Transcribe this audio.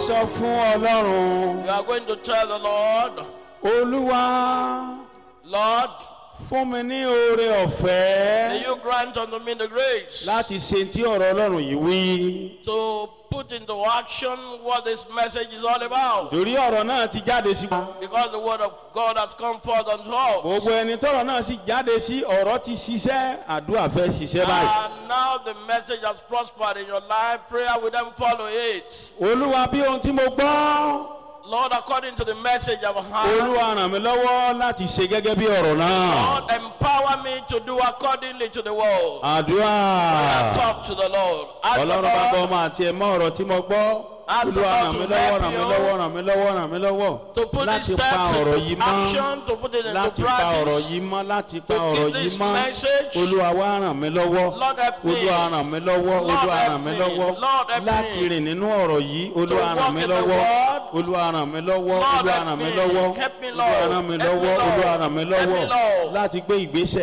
Sọ fún Ọlọ́run. You are going to tell the Lord, Olúwa, Lord, fún mi ní oore ọ̀fẹ́ may you grant unto me the grace láti ṣe tí ọ̀rọ̀ Ọlọ́run yìí wí. to put into action what this message is all about. Torí ọ̀rọ̀ náà ti jáde sí. Because the word of God has come forth unto us. Gbogbo ẹni tọ́rọ̀ náà sì jáde sí, ọ̀rọ̀ ti ṣiṣẹ́, àdúrà fẹ́ ṣiṣẹ́ báyìí. And now the message has prospered in your life. Prayer will then follow it. Olúwa, bí ohun tí mo gbọ́. Lord, according to the message I've heard, Olúwa, ràn mí lọ́wọ́ láti ṣe gẹ́gẹ́ bí ọ̀rọ̀ náà. Lord, empower me to do accordingly to the word. Àdúrà. Talk to the Lord. Ask the Ọlọ́run bá gbọ́ Lord ọmọ àti ẹ̀mọ́ ọ̀rọ̀ tí mo gbọ́. Ask the Olúwa, Lord ràn to mí lọ́wọ́, help ràn mí you lọ́wọ́, ràn mí lọ́wọ́, ràn mí lọ́wọ́. to put these Láti pa steps ọ̀rọ̀ into yìí mọ́. action, to put it into Láti pa ọ̀rọ̀ practice. yìí mọ́, láti pa To keep ọ̀rọ̀ yìí this mọ́. message. Olúwa, wá ràn mí lọ́wọ́. Lord, help me. Olúwa, ràn mí lọ́wọ́. Lord, Olúwa, help ràn mí me. lọ́wọ́. Lord, help me. Láti rìn nínú ọ̀rọ̀ yìí. Olúwa, walk ràn mí in the lọ́wọ́. word. Olúwa, ràn mí lọ́wọ́. Lord, Olúwa, help ràn mí me. lọ́wọ́. Help me, Olúwa, Lord. ràn mí Help me, lọ́wọ́. Lord. Olúwa, ràn mí Help me, lọ́wọ́. Lord. Láti gbé ìgbésẹ̀.